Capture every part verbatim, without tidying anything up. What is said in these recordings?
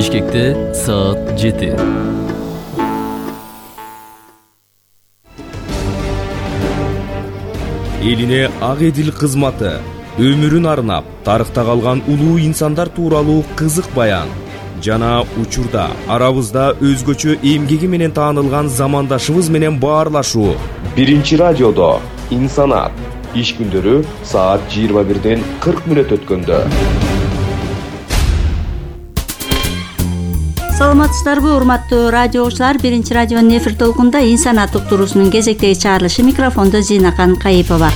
Бишкекте саат жети. Элине ак эдил кызматы, өмүрүн арнап, тарыхта калган улуу инсандар тууралуу кызык баян жана учурда арабызда өзгөчө эмгеги менен таанылган замандашыбыз менен баарлашуу. Биринчи радиодо инсанат иш күндөрү саат жыйырма бирден кырк мүнөт өткөндө. Саламатсыздарбы, урматтуу радио окуучулар? Биринчи радионун эфир толкунда инсанат уктуруусунун кезектеги чыгарылышы, микрофондо Зинакан Кайыпова.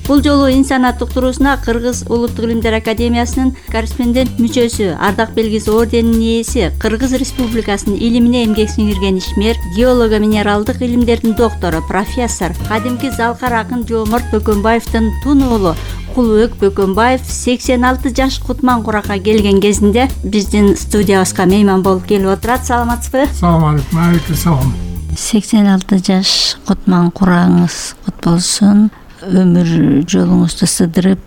Бул жолу инсанат уктуруусуна Кыргыз Улуттук илимдер академиясынын корреспондент мүчөсү, ардак белгиси орденинин ээси, Кыргыз Республикасынын илимине эмгек сиңирген ишмер, геолого минералдык илимдердин доктору, профессор, кадимки залкар акын Жооморт Бөкөнбаевдин тун уулу Кулубек Бөкөнбаев сексен алты жаш Кутман Куракка келген кезинде биздин студиябызга мейман болуп келип отурат. Саламатсызбы? Салам алейкум. Алейкум салам. сексен алты жаш Кутман Курагыңыз кут болсун. Өмүр жолуңузду сыдырып,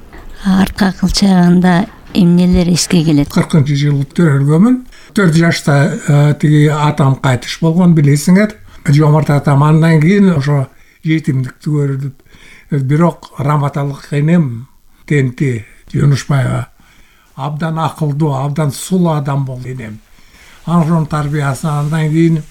артка кылчаганда эмнелер эске келет? кыркынчы жыл төрөлгөмүн. төрт жашта тиги атам кайтыш болгон, билесиңер. Жооморт атам андан кийин ошо жетимдикти көрүп, бирок раматалык энем Тенти Жунушбаева абдан акылдуу, абдан сулуу адам болду энем. Анын тарбиясы. Андан кийин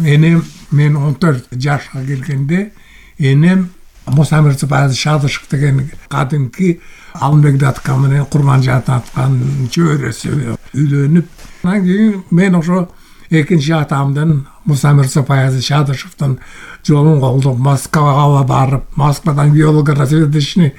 энем мен он төрт жашка келгенде энем Муса Мирзабаев Шадышев деген кадимки Алмек датка менен Курманжан аткан чөйрөсү үйлөнүп, андан кийин мен ошо экинчи атамдын Муса Мирзабаев Шадышевдин жолун колдоп Москвага барып, Москвадан геолого-разведочный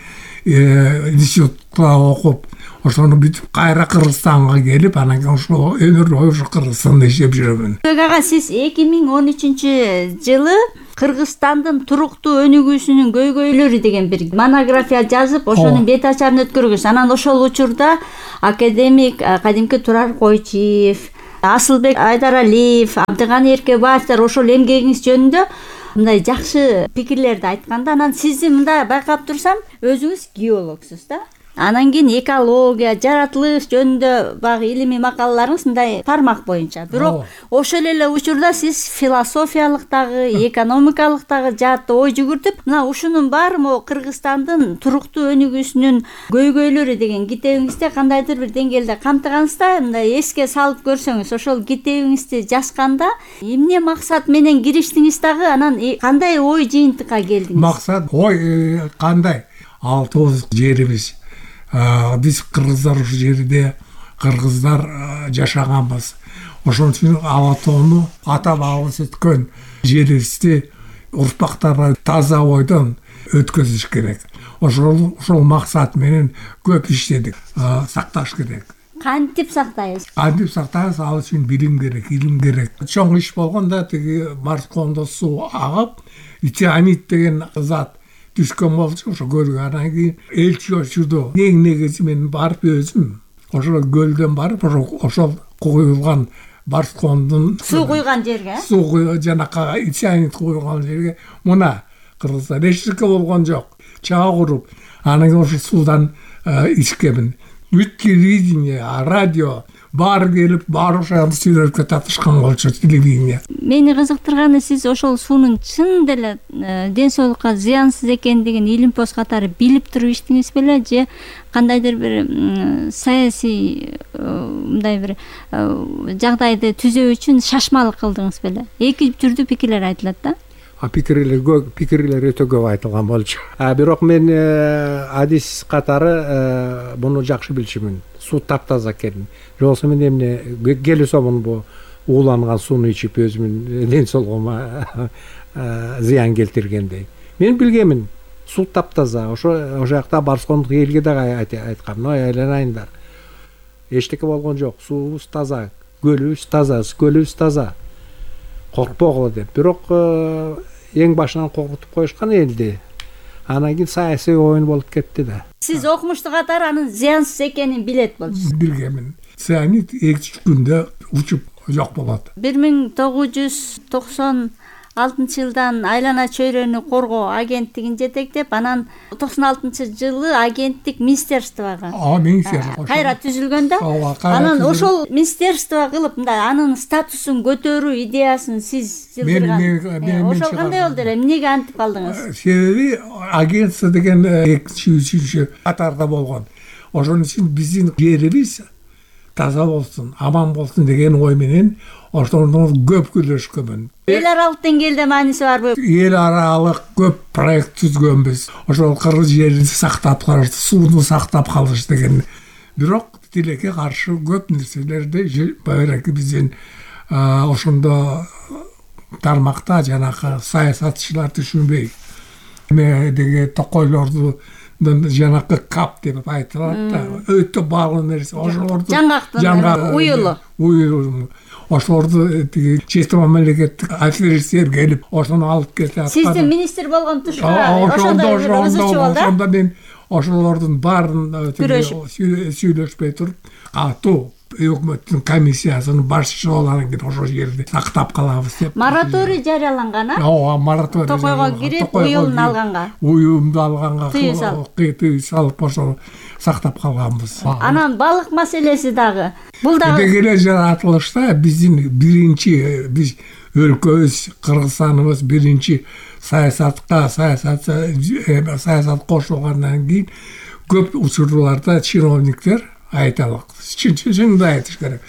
институтта окуп, ошону бүтүп кайра Кыргызстанга келип, анан кийин ошо өмүр бою ошо Кыргызстанда иштеп жүрөмүн. Ага, сиз эки миң он үчүнчү жылы Кыргызстандын туруктуу өнүгүүсүнүн көйгөйлөрү деген бир монография жазып, ошонун бет ачарын өткөргүсүз. Анан ошол учурда академик кадимки Турар Койчиев, Асылбек Айдаралиев, Абдыганы Эркебаевдер ошол эмгегиңиз жөнүндө мындай жакшы пикирлерди айтканда, анан сизди мындай байкап турсам, өзүңүз геологсуз да. Анан кийин экология, жаратылыш жөнүндө багы илимий макалаларыңыз мындай тармак боюнча. Бирок ошол эле учурда сиз философиялык дагы, экономикалык дагы жаатта ой жүгүртүп, мына ушунун баары могу Кыргызстандын туруктуу өнүгүүсүнүн көйгөйлөрү деген китебиңизде кандайдыр бир деңгээлде камтыгансызда, мындай эске салып көрсөңүз, ошол китебиңизди жазганда эмне максат менен кириштиңиз дагы, анан кандай ой жыйынтыкка келдиңиз? Максат, ой кандай? Алтыбыз жерибиз. Биз кыргыздар ушул жерде кыргыздар жашаганбыз. Ошон үчүн Алатоону ата бабабыз өткөн жерибизди урпактарга таза ойдон өткөзүш керек. Ошол ошол максат менен көп иштедик. Сакташ керек. Кантип сактайбыз? Кантип сактайбыз? Ал үчүн билим керек, илим керек. Чоң иш болгондо тиги Марскондо суу агып, цианид деген зат түшкөн болчу, ошо көлгө. Анан кийин элчи очурду. Эң негизи мен барып өзүм ошол көлдөн барып, ошол куюлган Барскондун суу куйган жерге, суу куйган жанакка цианид куйган жерге, мына Кыргыздар эчтеке болгон жок, чаа куруп, анан кийин ошо суудан ичкемин. Бүт телевидение, радио баары келип, баары ошол сүйлөшкө татышкан болчу, телевидение. Мени кызыктырганы, сиз ошол суунун чын деле ден соолукка зыянсыз экендигин илимпоз катары билип туруп иштиңиз беле, же кандайдыр бир саясий мындай бир жагдайды түзөө үчүн шашмалык кылдыңыз беле? Эки түрдүү пикирлер айтылат да. Пикирлер көп, пикирлер өтө көп айтылган болчу. Бирок мен адис катары буну жакшы билчүмүн. Суу таптаза экенин. Же болсо мен эмне келесомун бу ууланган сууну ичип өзүмүн ден соолугума зыян келтиргендей. Мен билгемин, суу таптаза. Ошо ошол жакта Барскондук элге дагы айткам, но айланайындар. Эчтеке болгон жок, суубуз таза, көлүбүз таза, көлүбүз таза. Коркпогула деп. Бирок эң башынан коркутуп коюшкан элди. Анан кийин саясий оюн болуп кетти да. Сиз окумушту катары анын зыянсыз экенин билет болчусуз. Билгемин. Цианид эки күндө учуп жок болот. бир миң тогуз жүз токсон алтынчы жылдан айлана чөйрөнү коргоо агенттигин жетектеп, анан токсон алтынчы жылы агенттик министерствого а министерство кайра түзүлгөн да. Ооба, кайра Анан түзүлгөн. ошол министерство кылып мындай анын статусун көтөрүү идеясын сиз жылдырган. Мен- мен- мен- мен Ошол кандай болду эле? Эмнеге антип калдыңыз? Себеби агентство деген экинчи үчүнчү катарда болгон. Ошон үчүн биздин жерибиз таза болсун, аман болсун деген ой менен ошондо көп күлөшкөнмүн. Эл аралык деңгээлде мааниси барбы? Эл аралык көп проект түзгөнбүз. Ошол кыргыз жерин сактап калыш, сууну сактап калыш деген. Бирок тилекке каршы көп нерселерди баягы биздин ошондо тармакта жанагы саясатчылар түшүнбөй. Эме деге токойлорду жанагы кап деп айтылат да, өтө баалуу нерсе. Ошолорду Жаңгактын уюлу. Уюлу. Ошолорду тиги чет мамлекеттик офицер келип, ошону алып кетип. Сиздин министр болгон тушка ошондо ошондой ызычуу болду. ошондо мен ошолордун баарын сүйлөшпөй туруп, катуу өкмөттүн комиссиясынын башчысы болгандан кийин ошол жерди сактап калабыз деп. Мораторий жарыяланган, а? Ооба, мораторий. Токойго кирип, уюлун алганга. Уюлду алганга Тыюу салып. тыюу салып ошол сактап калганбыз. Анан балык маселеси дагы. Бул дагы Дегеле жаратылышта биздин биринчи биз өлкөбүз, Кыргызстаныбыз биринчи саясатка, саясат саясат кошулгандан кийин көп учурларда чиновниктер айталык. Чын-чынды айтыш керек.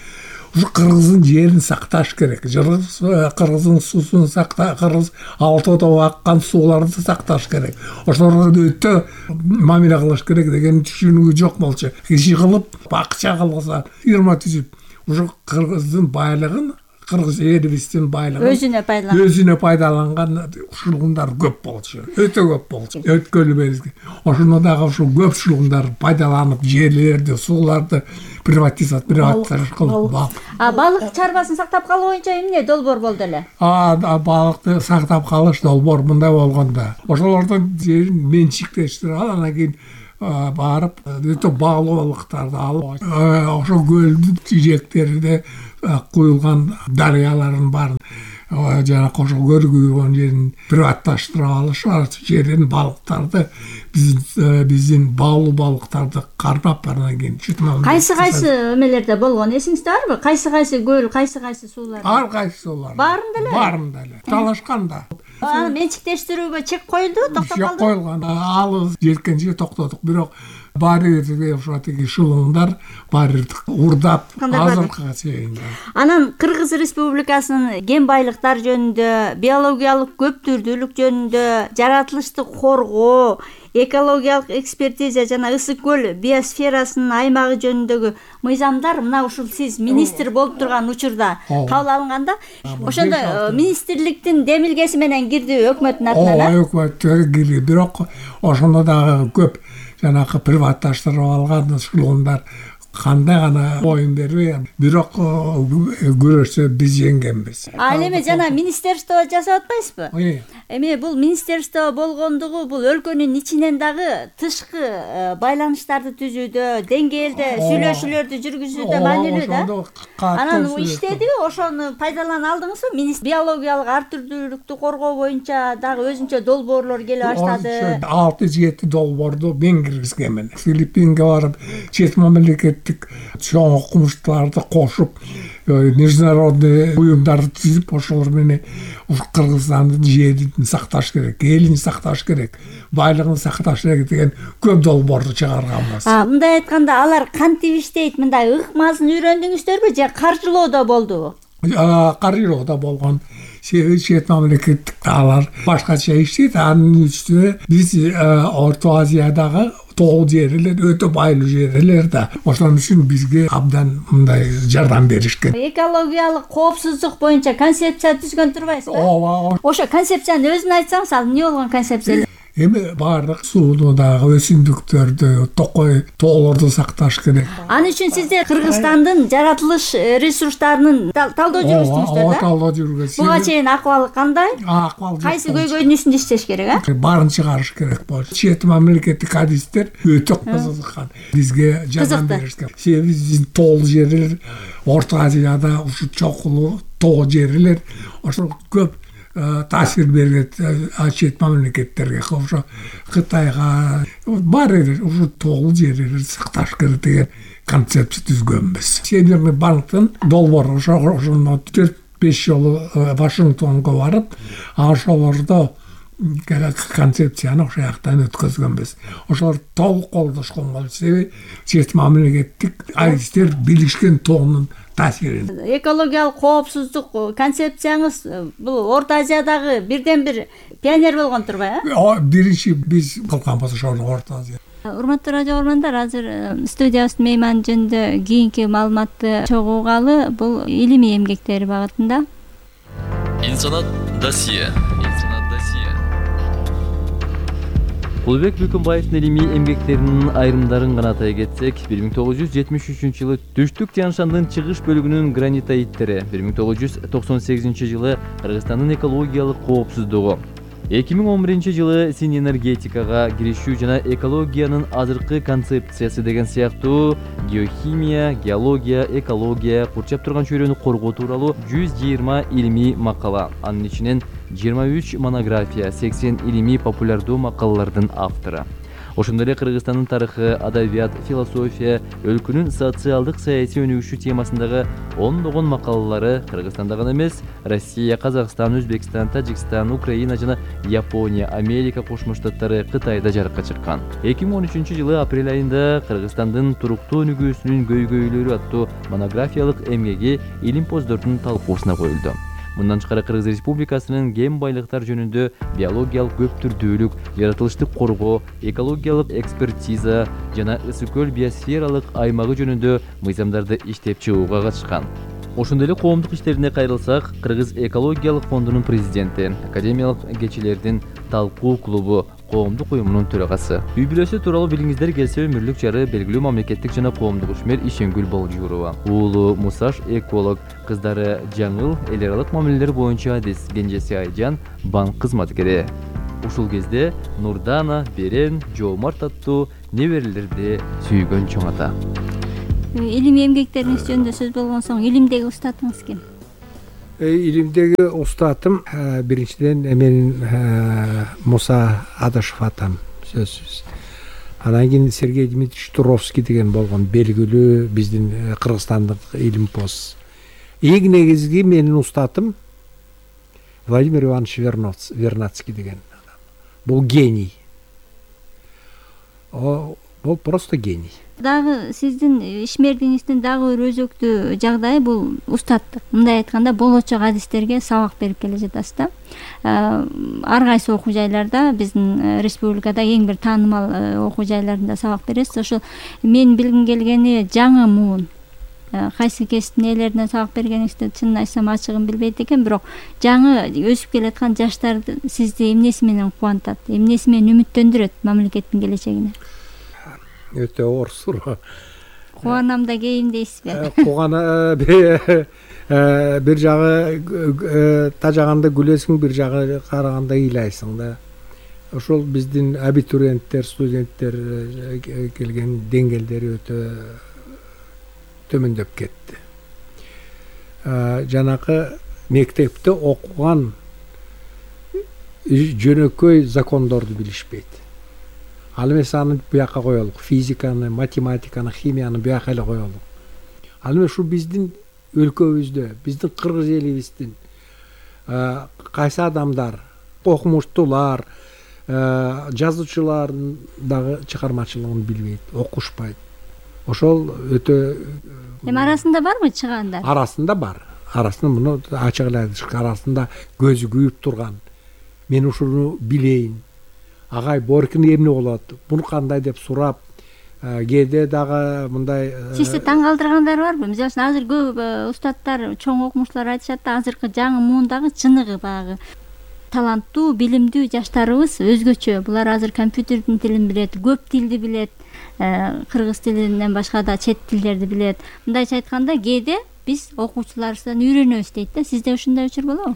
Ушу Кыргыздын жерин сакташ керек. Кыргыздын суусун сакта, Кыргыз алтоодо аккан сууларды сакташ керек. Ошолорго өтө мамиле кылыш керек деген түшүнүгү жок болчу. Киши кылып, акча кылса, фирма түзүп, ушу Кыргыздын байлыгын, Кыргыз элибиздин байлыгын өзүнө пайдаланган. өзүнө пайдаланган шулундар көп болчу. Өтө көп болчу. Өткөлү берди. Ошондо дагы ушул көп шулундар пайдаланып, жерлерди, сууларды приватизация приватизация кылып, А балык чарбасын сактап калуу боюнча эмне долбоор болду эле? А балыкты сактап калыш долбоор мындай болгондо. Ошолордун жерин менчиктештирип алып, анан кийин барып өтө баалуу балыктарды алып, ошол көлдүн жээктеринде куюлган дарыялардын баарын жана ошол көл куюлган жерин приватташтырып алышып, жерден балыктарды биздин биздин баалуу балыктарды кармап, анан кийин чытман. Кайсы кайсы эмелерде болгон эсиңизде барбы? Кайсы кайсы көл, кайсы кайсы суулар? Ар кайсы олар. Баарында эле? Баарында эле. Талашканда. Аны менчиктештирүүгө чек коюлду, токтоп Жок калды. коюлган. Ал жеткенче токтодук. Бирок баары ошо тиги шылыңдар баары урдап азыркыга чейин. Анан Кыргыз Республикасынын кен байлыктар жөнүндө, биологиялык көптүрдүүлүк жөнүндө, жаратылыштык коргоо, экологиялык экспертиза жана ысык көл биосферасынын аймагы жөнүндөгү мыйзамдар мына ушул сиз министр болуп турган учурда кабыл алынганда, ошондо министрликтин демилгеси менен кирди өкмөттүн атынан. Ооба, өкмөттөр кирди, бирок ошондо дагы көп жанагы приватташтырып алган шылыңдар кандай гана оюн бербей, бирок күрөштө биз жеңгенбиз. Ал эми жана министерство жасап атпайсызбы? Эми бул министерство болгондугу бул өлкөнүн ичинен дагы тышкы байланыштарды түзүүдө, деңгээлде сүйлөшүүлөрдү жүргүзүүдө маанилүү да. Анан иштедиби, ошону пайдалана алдыңызбы? Министр биологиялык ар түрдүүлүктү коргоо боюнча дагы өзүнчө долбоорлор келе баштады. алты жети долбоорду мен киргизгенмин. Филиппинге барып, чет мамлекеттик чоң окумуштууларды кошуп, международный уюмдарды түзүп, ошолор менен Кыргызстандын жерин сакташ керек, элин сакташ керек, байлыгын сакташ керек деген көп долбоорду чыгарганбыз. А, мындай айтканда алар кантип иштейт? Мындай ыкмасын үйрөндүңүздөрбү же каржылоодо болдубу? Каржылоодо болгон. Себеби чет мамлекеттик алар башкача иштейт. Анын үстүнө биз Орто Азиядагы тоо жерлер өтө байлуу жерлер да. Ошон үчүн бизге абдан мындай жардам беришкен. Экологиялык коопсуздук боюнча концепция түзгөн турбайсызбы? Ооба. Ошо концепцияны өзүн айтсаңыз, ал эмне болгон концепция? Эми баардык сууну дагы өсүмдүктөрдү, токой тоолорду сакташ керек. Ал үчүн сиздер Кыргызстандын жаратылыш ресурстарынын талдоо жүргүздүңүздөр да? Ооба, талдоо жүргүздүк. Буга чейин акыбалы кандай? Акыбал Кайсы көйгөйдүн үстүндө иштеш керек, а? Баарын чыгарыш керек болчу. Чет мамлекеттик адистер өтө кызыккан. Бизге жардам беришкен. Себеби биздин тоо жерлер Орто Азияда ушу чокулуу тоо жерлер ошо көп таасир берет чет мамлекеттерге, ошо Кытайга бар эле ушу тогул жерлерди сакташ керек деген концепция түзгөнбүз. Северный банктын долбоор ошо ошону төрт беш жолу Вашингтонго барып, ошолордо концепцияны ошол жактан өткөзгөнбүз. Ошолор толук колдошкон болсо, чет мамлекеттик адистер билишкен тоонун таасирин. Экологиялык коопсуздук концепцияңыз бул Орто Азиядагы бирден бир пионер болгон турбайбы? Биринчи биз кылганбыз ошол Орто Азия. Урматтуу радио көргөндөр, азыр студиябыздын мейманы жөнүндө кийинки маалыматты чогуугалы, бул илимий эмгектери багытында. İnsanat Dosiye. İnsanat Dosiye. Кулбек Бүкүнбаевдин илимий эмгектеринин айрымдарын гана атай кетсек, бир миң тогуз жүз жетимиш үчүнчү жылы Түштүк Тянь-Шандын чыгыш бөлүгүнүн гранитоиттери, бир миң тогуз жүз токсон сегизинчи жылы Кыргызстандын экологиялык коопсуздугу, эки миң он биринчи жылы син энергетикага киришүү жана экологиянын азыркы концепциясы деген сыяктуу геохимия, геология, экология, курчап турган чөйрөнү коргоо тууралуу жүз жыйырма илимий макала, анын ичинен жыйырма үч монография, сексен илимий популярдуу макалалардын автору. Ошондой эле Кыргызстандын тарыхы, адабият, философия, өлкөнүн социалдык саясий өнүгүшү темасындагы ондогон макалалары Кыргызстанда гана эмес, Россия, Казакстан, Өзбекстан, Тажикстан, Украина жана Япония, Америка Кошмо Штаттары, Кытайда жарыкка чыккан. эки миң он үчүнчү жылы апрель айында Кыргызстандын туруктуу өнүгүүсүнүн көйгөйлөрү аттуу монографиялык эмгеги илимпоздордун талкуусуна коюлду. Мындан тышкары Кыргыз Республикасынын кен байлыктар жөнүндө биологиялык көптүрдүүлүк, жаратылыштык коргоо, экологиялык экспертиза жана ысык көл биосфералык аймагы жөнүндө мыйзамдарды иштеп чыгууга катышкан. Ошондой эле коомдук иштерине кайрылсак, Кыргыз экологиялык фондунун президенти, академиялык кечилердин талкуу клубу коомдук уюмунун төрагасы. Үй бүлөсү тууралуу билиңиздер келсе, өмүрлүк жары белгилүү мамлекеттик жана коомдук ишмер Ишенгүл Болжурова. Уулу Мусаш эколог, кыздары Жаңыл эл аралык мамилелер боюнча адис, кенжеси Айжан банк кызматкери. Ушул кезде Нурдана, Берен, Жоомарт аттуу неберелерди сүйгөн чоң ата. Илимий эмгектериңиз жөнүндө сөз болгон соң, илимдеги устатыңыз ким? Илимдеги устатым биринчиден менин Муса Адашев атам, сөзсүз. Анан кийин Сергей Дмитриевич Туровский деген болгон белгилүү биздин кыргызстандык илимпоз. Эң негизги менин устатым Владимир Иванович Вернадский деген адам. Бул гений. О, бул просто гений. Дагы сиздин ишмердигиңиздин дагы бир өзөктүү жагдайы бул устаттык. Мындай айтканда, болочок адистерге сабак берип келе жатасыз да. Ар кайсы окуу жайларда, биздин республикада эң бир таанымал окуу жайларында сабак бересиз. Ошол мен билгим келгени жаңы муун. Кайсы кесиптин ээлерине сабак бергениңизди чынын айтсам ачыгын билбейт экен, бирок жаңы өсүп келаткан жаштарды сизди эмнеси менен кубантат, эмнеси менен үмүттөндүрөт мамлекеттин келечегине? Өтө оор суроо. Кубанам да кейин дейсизби? Кубана бир жагы тажаганда күлөсүң, бир жагы караганда ыйлайсың да. Ошол биздин абитуриенттер, студенттер келген деңгээлдери өтө төмөндөп кетти. Жанакы мектепте окуган жөнөкөй закондорду билишпейт. Ал эмес аны буяка коелук, физиканы, математиканы, химияны буяка эле коелук. Ал эмес ушу биздин өлкөбүздө, биздин кыргыз элибиздин кайсы адамдар, окумуштуулар, жазуучулардын дагы чыгармачылыгын билбейт, окушпайт. Ошол өтө Эми арасында барбы чыгандар? Арасында бар. Арасында муну ачык эле айтышка, арасында көзү күйүп турган. Мен ушуну билейин. Агай Боркин эмне болот? Буну кандай деп сурап, кээде дагы мындай Сизди таң калтыргандар барбы? Мисалы үчүн азыр көп устаттар, чоң окумуштуулар айтышат да, азыркы жаңы муундагы чыныгы багы таланттуу, билимдүү жаштарыбыз өзгөчө. Булар азыр компьютердин тилин билет, көп тилди билет, кыргыз тилинен башка да чет тилдерди билет. Мындайча айтканда, кээде биз окуучуларыбыздан үйрөнөбүз дейт да. Сизде ушундай учур болобу?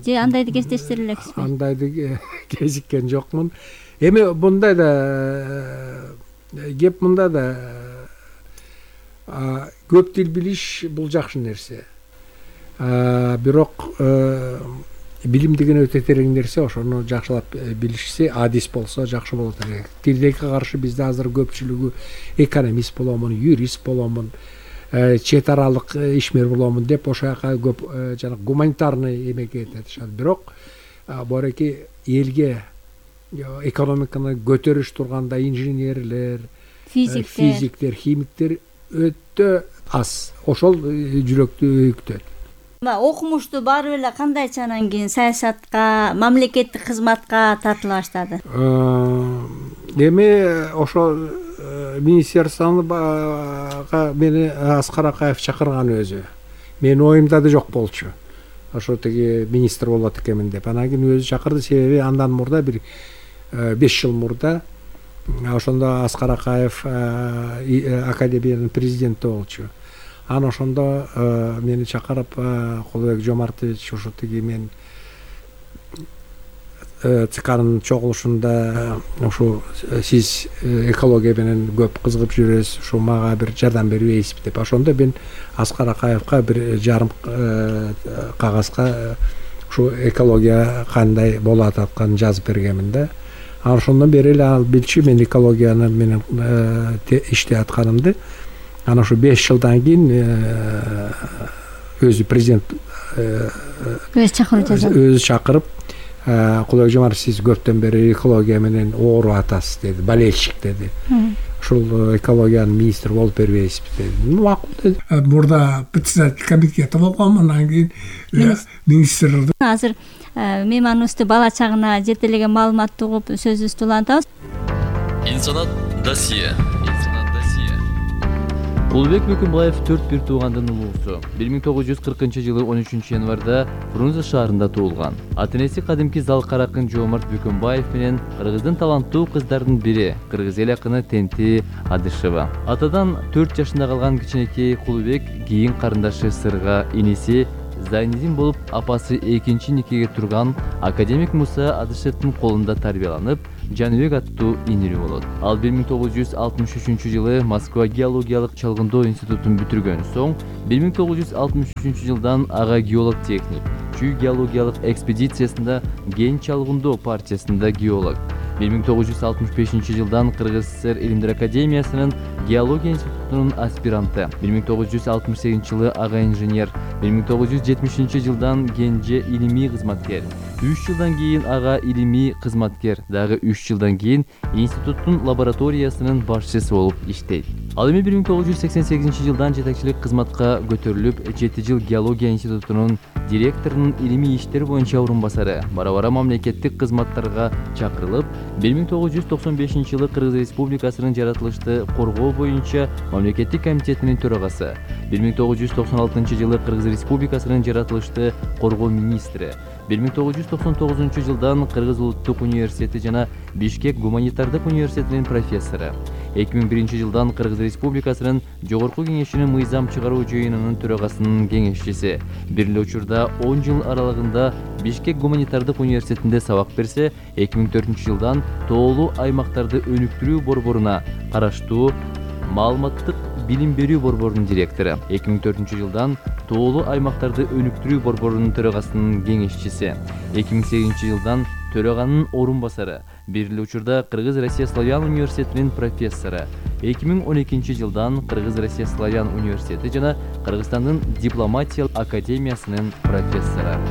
Же андайды кездештире элексизби? Андайды кезиккен жокмун. Эми мындай да кеп мында да көп тил билиш бул жакшы нерсе. бирок билим деген өтө терең нерсе, ошону жакшылап билишсе, адис болсо жакшы болот элек. Тилдеги каршы бизде азыр көпчүлүгү экономист боломун, юрист боломун, чет аралык ишмер боломун деп ошол жака көп жана гуманитарный эмеге кетишат. Бирок бореки элге экономиканы көтөрүш турганда инженерлер, физиктер, физиктер, химиктер өтө аз. Ошол жүрөктү өйүктөт. Окумуштуу баары эле кандайча анан кийин саясатка, мамлекеттик кызматка тартыла баштады? Эми ошо министерствого мени Аскар Акаев чакырган өзү. Менин оюмда да жок болчу. Ошо тиги министр болот экенмин деп. Анан кийин өзү чакырды, себеби андан мурда бир беш жыл мурда ошондо Аскар Акаев академиянын президенти болчу. Анан ошондо мени чакырып, Кулубек Жомартович, ошо тиги мен ЦКнын чогулушунда ошо сиз экология менен көп кызыгып жүрөсүз, ошо мага бир жардам бербейсизби деп. Ошондо мен Аскар Акаевка бир жарым кагазга ошо экология кандай болуп атканын жазып бергенмин да. Анан ошондон бери эле ал билчү мен экологияны менен иштеп атканымды. Анан ошо беш жылдан кийин өзү президент өзү чакырып жазат. Өзү чакырып, Кулубек Жомартов, сиз көптөн бери экология менен ооруп атасыз деди, болельщик деди. Ушул экологиянын министри болуп бербейсизби деди. Макул деди. Мурда председатель комитета болгом, анан кийин министр. Азыр мейманыбызды бала чагына жетелеген маалыматты угуп сөзүбүздү улантабыз. Инсанат досье. Кулубек Бөкөнбаев төрт бир туугандын улуусу. бир миң тогуз жүз кыркынчы жылы он үчүнчү январда Фрунзе шаарында туулган. Ата-энеси кадимки Залкар акын Жоомарт Бөкөнбаев менен кыргыздын таланттуу кыздардын бири, кыргыз эл акыны Тенти Адышева. Атадан төрт жашында калган кичинекей Кулубек кийин карындашы Сырга, иниси Зайнидин болуп, апасы экинчи никеге турган академик Муса Адышевдин колунда тарбияланып, Жаныбек аттуу инирүү болот. Ал бир миң тогуз жүз алтымыш үчүнчү жылы Москва геологиялык чалгындоо институтун бүтүргөн соң, бир миң тогуз жүз алтымыш үчүнчү жылдан ага геолог-техник, Чүй геологиялык экспедициясында ген чалгындоо партиясында геолог. бир миң тогуз жүз алтымыш бешинчи жылдан Кыргыз ССР Илимдер академиясынын геология институтунун аспиранты. бир миң тогуз жүз алтымыш сегизинчи жылы ага инженер, бир миң тогуз жүз жетимишинчи жылдан Генже илимий кызматкер. үч жылдан кийин ага илимий кызматкер, дагы үч жылдан кийин институттун лабораториясынын башчысы болуп иштейт. Ал эми бир миң тогуз жүз сексен сегизинчи жылдан жетекчилик кызматка көтөрүлүп, жети жыл геология институтунун директорунун илимий иштер боюнча орун басары, бара-бара мамлекеттик кызматтарга чакырылып, бир миң тогуз жүз токсон бешинчи жылы Кыргыз Республикасынын жаратылышты коргоо боюнча мамлекеттик комитетинин төрагасы, бир миң тогуз жүз токсон алтынчы жылы Кыргыз Республикасынын жаратылышты коргоо министри, бир миң тогуз жүз токсон тогузунчу жылдан Кыргыз улуттук университети жана Бишкек гуманитардык университетинин профессору, эки миң биринчи жылдан Кыргыз Республикасынын жогорку кеңешинин мыйзам чыгаруу жыйынынын төрагасынын кеңешчиси, бир эле учурда он жыл аралыгында Бишкек гуманитардык университетинде сабак берсе, эки миң төртүнчү жылдан тоолуу аймактарды өнүктүрүү борборуна караштуу маалыматтык билим берүү борборунун директору, эки миң төртүнчү жылдан тоолуу аймактарды өнүктүрүү борборунун төрагасынын кеңешчиси, эки миң сегизинчи жылдан төраганын орун басары, бир эле учурда Кыргыз Россия Славян университетинин профессору, эки миң он экинчи жылдан Кыргыз Россия Славян университети жана Кыргызстандын дипломатия академиясынын профессору.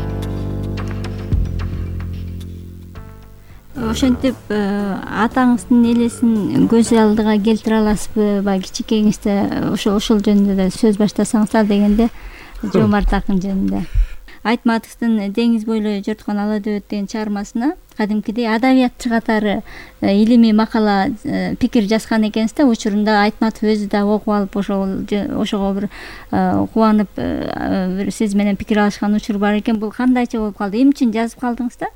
Ошентип атаңыздын элесин көз алдыга келтире аласызбы? Баягы кичинекейиңизде ошол ошол жөнүндө да сөз баштасаңыздар дегенде, Жоомарт акын жөнүндө. Айтматовдун Деңиз бойлой жорткон ала дөбөт деген чыгармасына кадимкидей адабиятчы катары илимий макала пикир жазган экенсиз да. Учурунда Айтматов өзү да окуп алып, ошол ошого бир кубанып бир сиз менен пикир алышкан учур бар экен. Бул кандайча болуп калды? Эмне үчүн жазып калдыңыз да?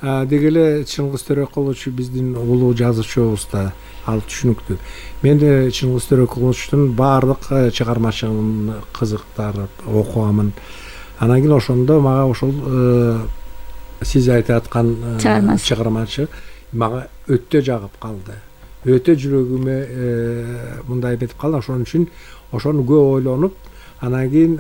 Деги эле Чыңгыз Төрөкулович биздин улуу жазуучубуз да, ал түшүнүктүү. Мен да Чыңгыз Төрөкуловичтун баардык чыгармачылыгын кызыктарып окугамын. Анан кийин ошондо мага ошол сиз айтып аткан чыгармачы мага өтө жагып калды. Өтө жүрөгүмө мындай эметип калды. Ошон үчүн ошону көп ойлонуп, анан кийин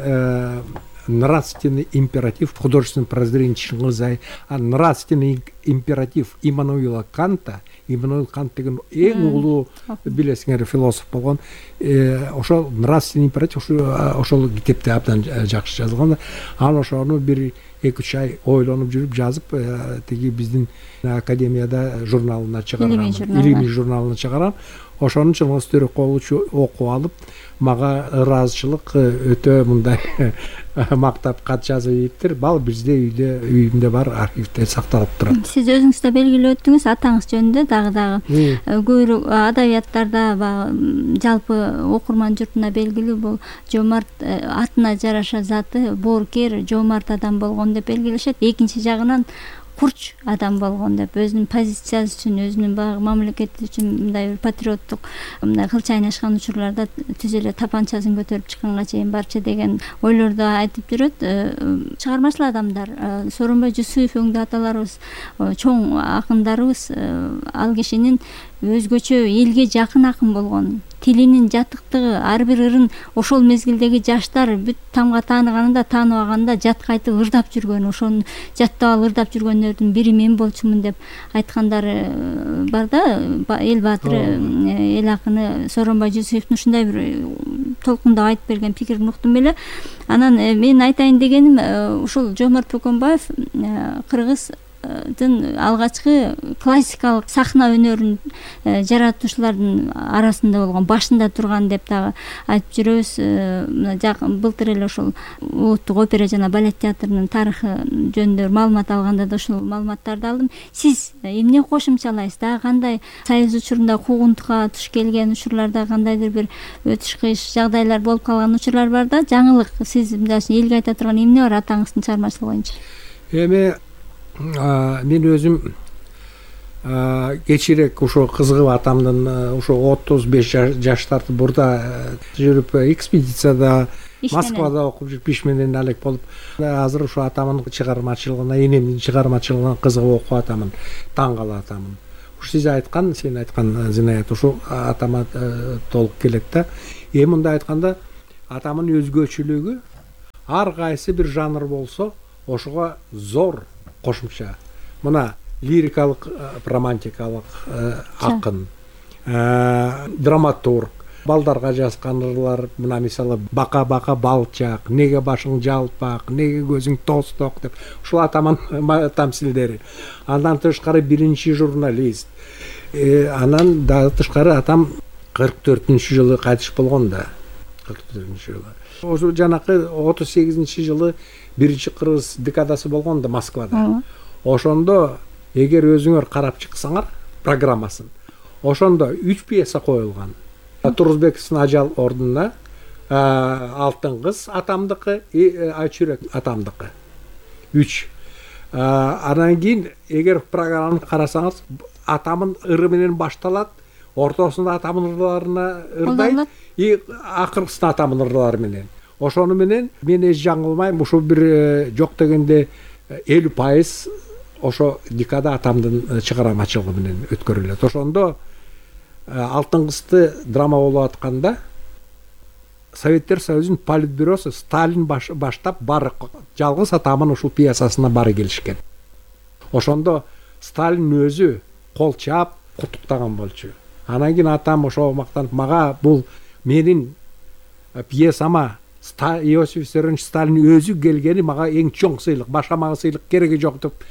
нравственный императив художественного прозрения Чингизай, а нравственный императив Иммануила Канта. Иммануил Кант деген эң улуу билесиңер философ болгон. Ошол нравственный императив ошол китепте абдан жакшы жазылган. Анан ошону бир эки үч ай ойлонуп жүрүп жазып, тиги биздин академияда журналына чыгаргам, илимий журналына чыгарам. Ошону Чыңгыз Төрөкулович окуп алып, мага ыраазычылык өтө мындай мактап кат жазып ийиптир. Бал бизде үйдө үйүмдө бар, архивде сакталып турат. Сиз өзүңүз да белгилеп өттүңүз атаңыз жөнүндө дагы дагы көбүрөөк адабияттарда баягы жалпы окурман журтуна белгилүү бул жомарт, атына жараша заты боорукер, жомарт адам болгон деп белгилешет. Экинчи жагынан курч адам болгон деп өзүнүн позициясы үчүн, өзүнүн баягы мамлекети үчүн мындай бир патриоттук мындай кылч айнашкан учурларда түз эле тапанчасын көтөрүп чыкканга чейин барчу деген ойлорду айтып жүрөт. Чыгармачыл адамдар, Сооронбай Жусуев өңдүү аталарыбыз, чоң акындарыбыз ал кишинин өзгөчө элге жакын акын болгон, тилинин жатыктыгы, ар бир ырын ошол мезгилдеги жаштар бүт тамга тааныганында, тааныбаганда жатка айтып ырдап жүргөн, ошону жаттап алып ырдап жүргөндөрдүн бири мен болчумун деп айткандары бар да. Эл баатыры, эл акыны Сооронбай Жусуевдин ушундай бир толкундап айтып берген пикирин уктум эле. Анан мен айтайын дегеним, ушул Жомарт Бөкөнбаев кыргыз алгачкы классикалык сахна өнөрүн жаратуучулардын арасында болгон, башында турган деп дагы айтып жүрөбүз. Былтыр эле ошол Улуттук опера жана балет театрынын тарыхы жөнүндө маалымат алганда да ушул маалыматтарды алдым. Сиз эмне кошумчалайсыз? Дагы кандай союз учурунда куугунтукка туш келген учурларда кандайдыр бир өтүш кыйыш жагдайлар болуп калган учурлар бар да? Жаңылык сиз мындай элге айта турган эмне бар атаңыздын чыгармачылыгы боюнча? Эми мен өзүм кечирээк ошо кызыгып атамдын ошо отуз беш жаштарды бурда жүрүп экспедицияда Москвада окуп жүрүп иш менен алек болуп, азыр ошо атамдын чыгармачылыгына, энемдин чыгармачылыгына кызыгып окуп атамын, таң калып атамын. Ушу сиз айткан, сен айткан Зинаят ошо атама толук келет да. Эми мындай айтканда, атамдын өзгөчөлүгү ар кайсы бир жанр болсо, ошого зор кошумча. Мына лирикалык, романтикалык акын, драматург, балдарга жазган ырлар, мына мисалы бака-бака балчак, неге башың жалпак, неге көзүң тосток деп. Ушул атаман тамсилдери. Андан тышкары биринчи журналист. Анан дагы тышкары атам кырк төртүнчү жылы кайтыш болгон да. кырк төртүнчү жылы. Ошо жанакы отуз сегизинчи жылы биринчи кыргыз декадасы болгон да Москвада. Ошондо эгер өзүңөр карап чыксаңар программасын, ошондо үч пьеса коюлган. Турузбековдун Ажал ордуна, Алтын кыз атамдыкы, Айчүрөк атамдыкы. үч. Анан кийин эгер программаны карасаңыз, атамдын ыры менен башталат, ортосунда атамдын ырларына ырдайт, и акыркысында атамдын ырлары менен. Ошону менен мен эч жаңылмайм, ушул бир жок дегенде элүү пайыз ошо декада атамдын чыгармачылыгы менен өткөрүлөт. Ошондо Алтын кызды драма болуп атканда Советтер Союзунун политбюросу Сталин баштап бары жалгыз атамдын ушул пьесасына бары келишкен. Ошондо Сталин өзү кол чаап куттуктаган болчу. Анан кийин атам ошо мактанып, мага бул менин пьесама Иосиф Виссарионович Сталин өзү келгени мага эң чоң сыйлык, башка мага сыйлык кереги жок деп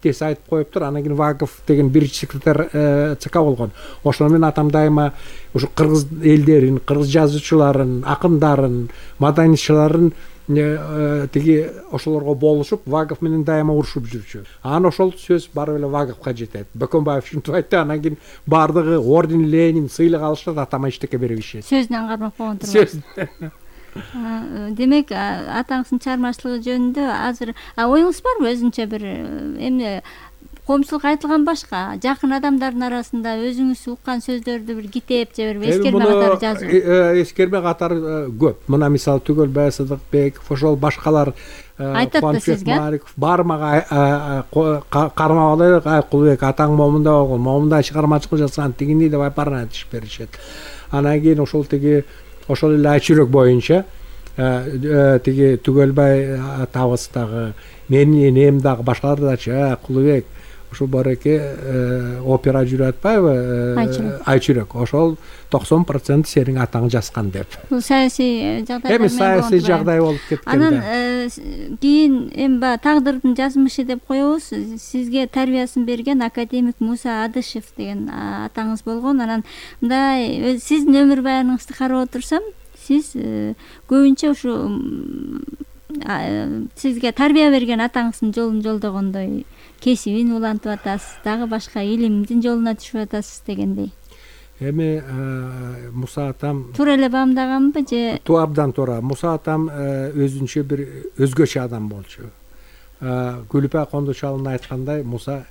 тез айтып коюптур. Анан кийин Вагов деген биринчи секретарь ЦК болгон. Ошону менен атам дайыма ушу кыргыз элдерин, кыргыз жазуучуларын, акындарын, маданиятчыларын тиги ошолорго болушуп, Вагов менен дайыма урушуп жүрчү. Анан ошол сөз барып эле Ваговго жетет. Бөкөнбаев ушинтип айтты, анан кийин бардыгы орден, Ленин, сыйлык алышат, атама эчтеке бербешет. Сөзүнөн кармап койгон турган. Демек, атаңыздын чыгармачылыгы жөнүндө азыр оюңуз барбы өзүнчө бир эмне коомчулукка айтылган башка жакын адамдардын арасында өзүңүз уккан сөздөрдү бир китеп же бир эскерме катары жазуу? Эскерме катары көп. Мына мисалы Түгөлбай Сыдыкбеков, ошол башкалар айтат да сизге. Бар мага кармап алайлык, Айкулбек атаң момунда болгон, момундай чыгармачылык жазган, тигини деп айпарына айтышып беришет. Анан кийин ошол тиги ошол эле Айчүрөк боюнча тиги Түгөлбай атабыз дагы, менин энем дагы, башкалар дачы, Кулубек, ушул бареке опера жүрүп атпайбы, Айчүрөк, ошол токсон процент сенин атаң жазган деп. Бул саясий жагдай. Эми саясий жагдай болуп кеткен. Анан кийин эми баягы тагдырдын жазмышы деп коебуз. Сизге тарбиясын берген академик Муса Адышев деген атаңыз болгон. Анан мындай сиздин өмүр баяныңызды карап отурсам, сиз көбүнчө ушу сизге тарбия берген атаңыздын жолун жолдогондой, кесибин улантып атасыз, дагы башка илимдин жолуна түшүп атасыз дегендей. Эми Муса атам туура эле баамдаганбы же? Туу абдан туура. Муса атам өзүнчө бир өзгөчө адам болчу. Күлүпай Кондучалын айткандай, Муса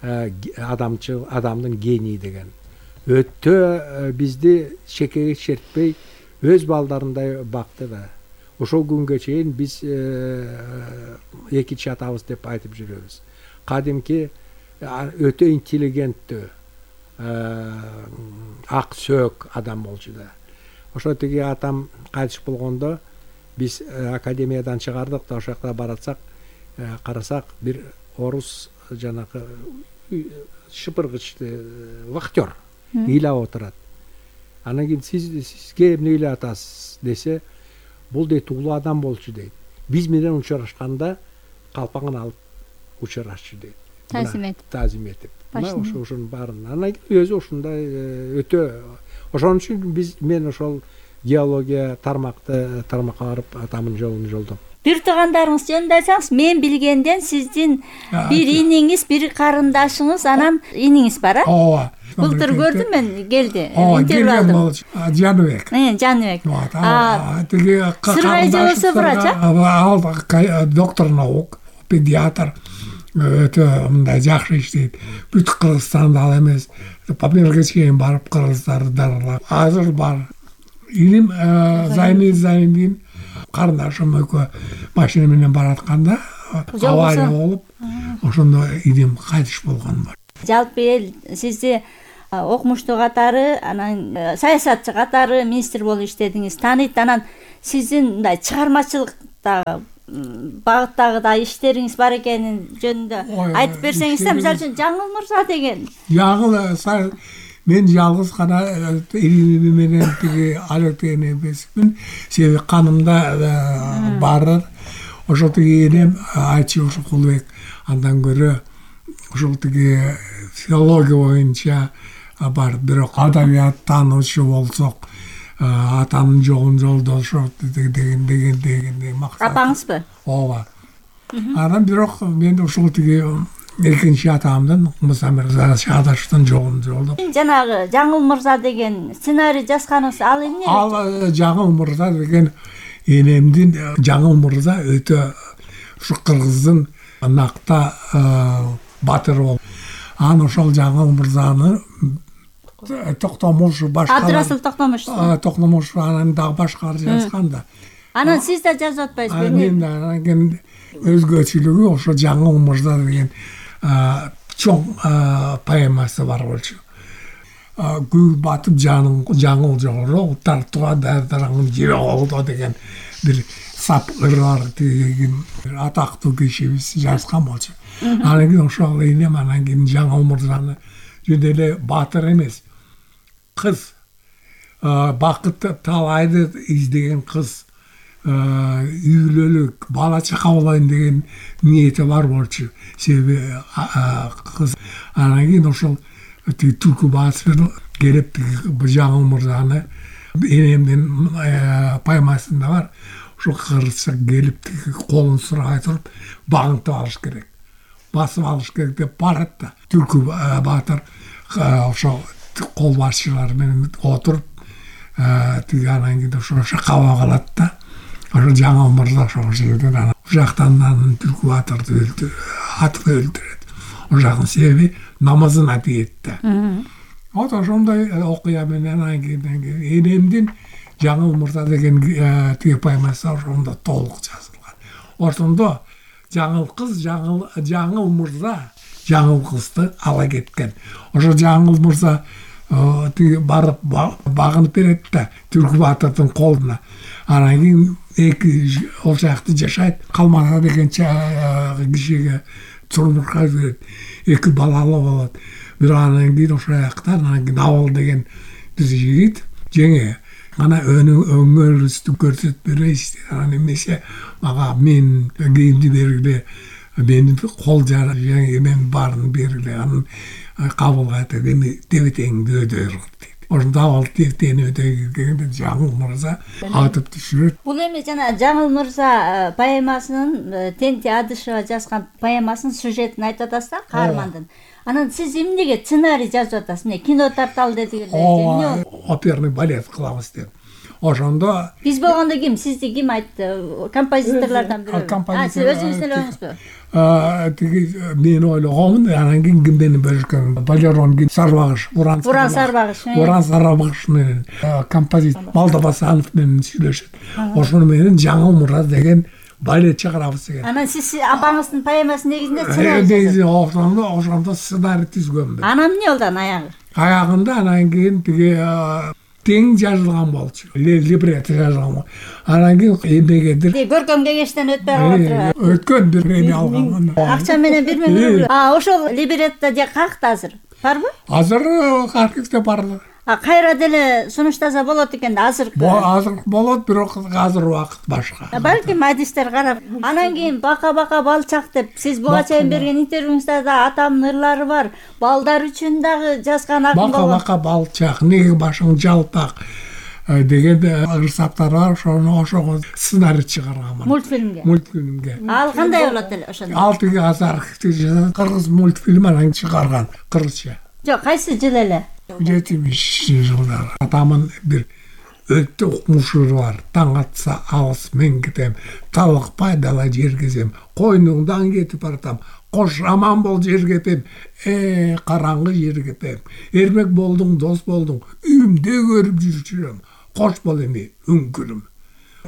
адамчыл, адамдын гений деген. Өтө бизди шекеге чертпей, өз балдарындай бакты да. Ошол күнгө чейин биз экинчи атабыз деп айтып жүрөбүз. Кадимки өтө интеллигенттүү, ак сөөк адам болчу да. Ошо тиги атам кайтыш болгондо биз академиядан чыгардык да, ошол жакта баратсак, карасак бир орус жанагы шыпыргычты вахтер ыйлап отурат. Анан кийин сиз сизге эмне ыйлап атасыз десе, бул дейт улуу адам болчу дейт. Биз менен учурашканда калпаңын алып учурашчу дейт. Тазим этип. Тазим этип. Мына ошо ошонун баарын. Анан өзү ушундай өтө. Ошон үчүн биз мен ошол геология тармакты тармакка барып атамдын жолун жолдом. Бир туугандарыңыз жөнүндө айтсаңыз, мен билгенден сиздин бир иниңиз, бир карындашыңыз, анан иниңиз бар, а? Ооба. Былтыр көрдүм мен, келди. Интервью алдым. Жаныбек. Э, Жаныбек. А, тиги Сырбай болсо врач, а? Доктор наук, педиатр. Өтө мындай жакшы иштейт. Бүт Кыргызстанда ал эмес, Памирге чейин барып кыргыздарды дарылап. Азыр бар. Иним Зайни Зайнин карындашым экөө машина менен баратканда авария болуп, ошондо иним кайтыш болгон бар. Жалпы эл сизди окумуштуу катары, анан саясатчы катары министр болуп иштедиңиз, тааныйт. Анан сиздин мындай чыгармачылыкта багыттагы да иштериңиз бар экенин жөнүндө айтып берсеңиз, мисалы үчүн Жаңыл Мырза деген. Жаңыл мен жалгыз гана илими менен тиги алектеген эмесмин. Себеби канымда бар. Ошол тиги энем Айчы ошо Кулубек андан көрө ошол тиги филология боюнча бар. Бирок адабият таануучу болсок, атамдын жолун жолдошот деген деген деген максат. Апаңызбы? Ооба. Анан бирок мен ошол тиги экинчи атамдын Муса Адышевдин жолун жолдоп. Жанагы Жаңыл Мырза деген сценарий жазганыңыз ал эмне? Ал Жаңыл Мырза деген энемдин Жаңыл Мырза өтө ушу кыргыздын накта батыры болуп. Анан ошол Жаңыл Мырзаны Токтомуш башкалар. Абдрасыл Токтомуш. Токтомуш анан дагы башкалар жазган да. Анан сиз да жазып атпайсызбы? Мен анан кийин өзгөчөлүгү ошо Жаңыл Мырза деген чоң поэмасы бар болчу. Гүл батып жаның жаңыл жогору, тартуга дардараңын жери олдо деген бир сап ырар деген атактуу кишибиз жазган болчу. Анан кийин ошол энем анан кийин Жаңыл Мырзаны жөн эле батыр эмес, кыз, бакыт талайды издеген кыз, үйлөлүк, бала чака болоюн деген ниети бар болчу. Себеби кыз анан кийин ошол Түлкү Батыр келип Жаңыл Мырзаны энемдин поэмасында бар. Ошо кыргызча келип колун сурай туруп багынтып алыш керек, басып алыш керек деп барат да. Түлкү Батыр ошо кол башчылар менен отуруп тиги анан кийин ошо каба калат да. Ошо Жаңыл Мырза ошол жерден анан жактан анан Түлкү Батырды өлтүрөт, атып өлтүрөт. Ошол жактын себеби намазына тиет да. Вот ошондой окуя менен анан кийин энемдин Жаңыл Мырза деген тиги поэмасы ошондо толук жазылган. Ошондо жаңыл кыз, жаңыл Жаңыл Мырза жаңыл кызды ала кеткен. Ошо Жаңыл Мырза тиги барып багынып берет да Түркү Батырдын колуна. Анан кийин эки ол жакта жашайт. Калмата деген кишиге турмушка берет. Эки балалы болот. Бирок анан кийин ошол жакта анан кийин Абыл деген бир жигит жеңе ана өңүңөрүбүздү көрсөтүп берейсиз. Анан эмесе мага мен кийимди бергиле, мени кол жара мен баарын бергиле. Анан Кабылга айтат, эми дебетеңди өдөйүр дейт. Ошондо Абыл дебетени өдөйгөндө Жаңыл Мырза атып түшүрөт. Бул эми жана Жаңыл Мырза поэмасынын Тенти Адышева жазган поэмасынын сюжетин айтып атасыз да, каармандын. Анан сиз эмнеге сценарий жазып атасыз? Эмне кино тарталы дедиңиз? Эмне оперный балет кылабыз деп. Ошондо биз болгондо ким? Сизди ким айтты? Композиторлордон бирөө. А, сиз өзүңүз эле ойлоңузбу? Тиги мен ойлогонмун, анан кийин ким менен бөлүшкөн? Балерон Сарбагыш, Буран Буран Сарбагыш. Буран Сарбагыш менен композитор Малдабасанов менен сүйлөшөт. Ошону менен Жаңыл Мырза деген балет чыгарабыз деген. Анан сиз апаңыздын поэмасынын негизинде сценарий ошондо ошондо сценарий түзгөнбүз. Анан эмне болду аягы? Аягында анан кийин тиги тең жазылган болчу. Либретто жазылган. Анан кийин эмнегедир көркөм кеңештен өтпөй калып өткөн бир эме алган. Акча менен бир миң рубль. А, ошол либретто же какта азыр? Барбы? Азыр архивде бар. А кайра деле сунуштаса болот экен да азыр. Азыр болот, бирок азыр убакыт башка. Балким адистер карап. Анан кийин бака-бака балчак деп сиз буга чейин берген интервьюңузда да атамдын ырлары бар. Балдар үчүн дагы жазган акын болгон. Бака-бака балчак, неге башың жалпак деген ырсаптар бар. Ошону ошого сценарий чыгарган. Мультфильмге. Мультфильмге. Ал кандай болот эле ошондо? Ал тиги азыр архивде кыргыз мультфильм анан чыгарган кыргызча. Жок, кайсы жыл эле? жетимишинчи жылдар. Атамын бир өтө укмушур бар. Таң атса алыс мен кетем, талыкпай дала жергезем, койнуңдан кетип баратам, кош аман бол жергепем, э караңгы жергепем, эрмек болдуң, дос болдуң, үйүмдө көрүп жүрчүрөм, кош бол эми үңкүрүм.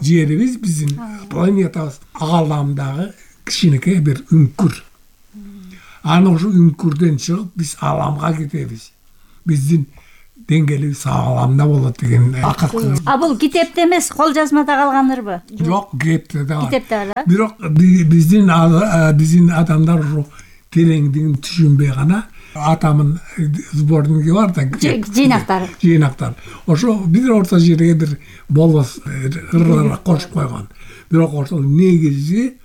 Жерибиз биздин планетабыз ааламдагы кичинекей бир үңкүр. Аны ошо үңкүрдөн чыгып биз ааламга кетебиз. Биздин деңгээлибиз ааламда болот деген акыркы. А бул китепте эмес, кол жазмада калганырбы? Жок, китепте да. Китепте бар. Бирок биздин биздин адамдар ошо тереңдигин түшүнбөй гана атамын сборниги бар да. Жыйнактары. Жыйнактар. Ошо бир орто жерге бир болбос ырлар кошуп койгон. Бирок ошол негизи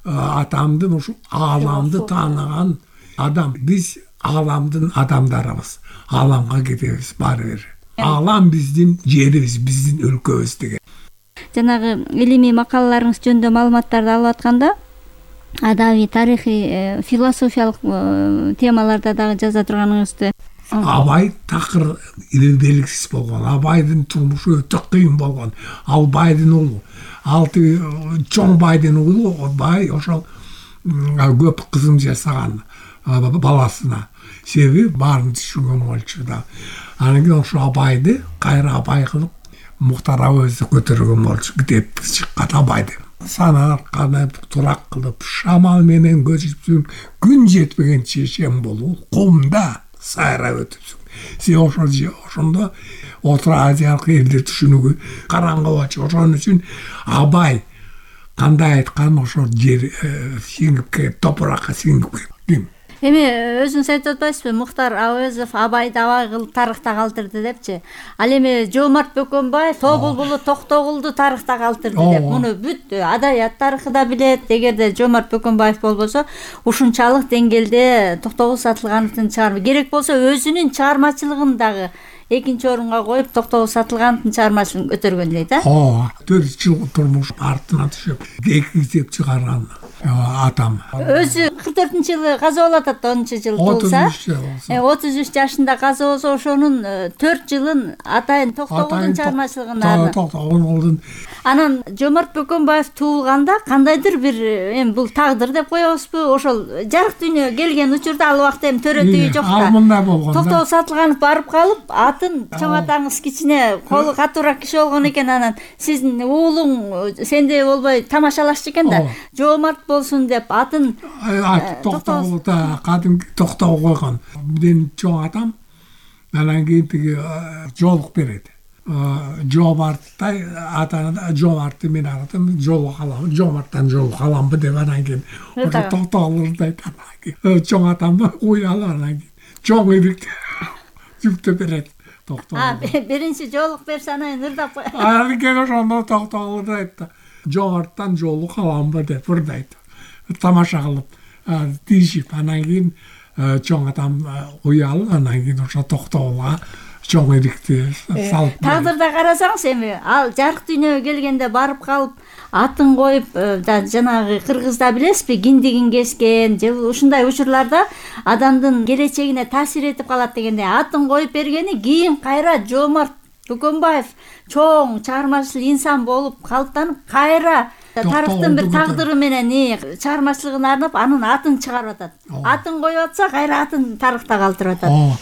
атамдын ошо ааламды тааныган адам. Биз ааламдын адамдарыбыз. Ааламга кетебиз баары бир. Аалам биздин жерибиз, биздин өлкөбүз деген. Жанагы илимий макалаларыңыз жөнүндө маалыматтарды алып атканда, адабий, тарыхый, философиялык темаларда дагы жаза турганыңызды. Абай такыр белгисиз болгон. Абайдын турмушу өтө кыйын болгон. Ал байдын уулу. Ал чоң байдын уулу бай ошол көп кызым жасаган баласына. Себеби баарын түшүнгөн болчу да. Анан кийин ошо Абайды кайра Абай кылып Муктар Әуезди көтөргөн болчу. Китеп чыккан Абайды. Санар канып турак кылып шамал менен көчүпсүң, күн жетпегенче шем болуу, кумда сайрап өтүпсүң. Сен ошо ошондо Орто Азиялык элдер түшүнүгү караңгы болчу. Ошон үчүн Абай кандай айткан ошо жер сиңип топуракка сиңип кетти. Эми өзүңүз айтып атпайсызбы, Муктар Әуезов Абайды абай кылып тарыхта калтырды депчи. Ал эми Жоомарт Бөкөнбаев Тобулбулу Токтогулду тарыхта калтырды деп. Муну бүт адабият тарыхы да билет. Эгерде Жоомарт Бөкөнбаев болбосо, ушунчалык деңгээлде Токтогул Сатылгановдун чыгарма керек болсо, өзүнүн чыгармачылыгын дагы экинчи орунга коюп Токтогул Сатылгановдун чыгармачылыгын көтөргөн дейт, а? Ооба, төрт жыл турмуш артына түшүп, эки китеп чыгарган атам. Өзү кырк төртүнчү жылы каза болот атат, онунчу жыл туулса. отуз үч жашында каза болсо, ошонун төрт жылын атайын Токтогулдун чыгармачылыгына. Токтогулдун. Анан Жоомарт Бөкөнбаев туулганда кандайдыр бир эми бул тагдыр деп коебузбу? Ошол жарык дүйнөгө келген учурда ал убакта эми төрөтүгү жок да. Ал мындай болгон. Токтогул Сатылганов барып калып, атын чоң атаңыз кичине, колу катуураак киши болгон экен. Анан сиздин уулуң сендей болбой тамашалашчу экен да. Жоомарт болсун деп атын Токтогулда кадимки Токтогул койгон. Менин чоң атам анан кийин тиги жоолук берет. Жоомарттай атаны Жоомартты мен атам жоолук алам, Жоомарттан жоолук аламбы деп анан кийин ошо токтоолурду айтат. Чоң атамды уялып анан кийин чоң эбик жүктөп берет. А, биринчи жоолук берсе анан ырдап кой. Анан кийин ошондо токтоолурду айтты. Жоомарттан жоолук аламбы деп ырдайт. Тамаша кылып, тийишип анан кийин чоң атам уялып анан кийин ошо токтоолго чоң эдикти салып. Тагдырда карасаңыз эми ал жарык дүйнөгө келгенде барып калып атын коюп, жанагы кыргызда билесизби, киндигин кескен же ушундай учурларда адамдын келечегине таасир этип калат дегенде атын коюп бергени кийин кайра Жоомарт Бөкөнбаев чоң чыгармачыл инсан болуп калыптанып кайра тарыхтын бир тагдыры менен чыгармачылыгына арнап анын атын чыгарып атат. Атын коюп атса кайра атын тарыхта калтырып атат.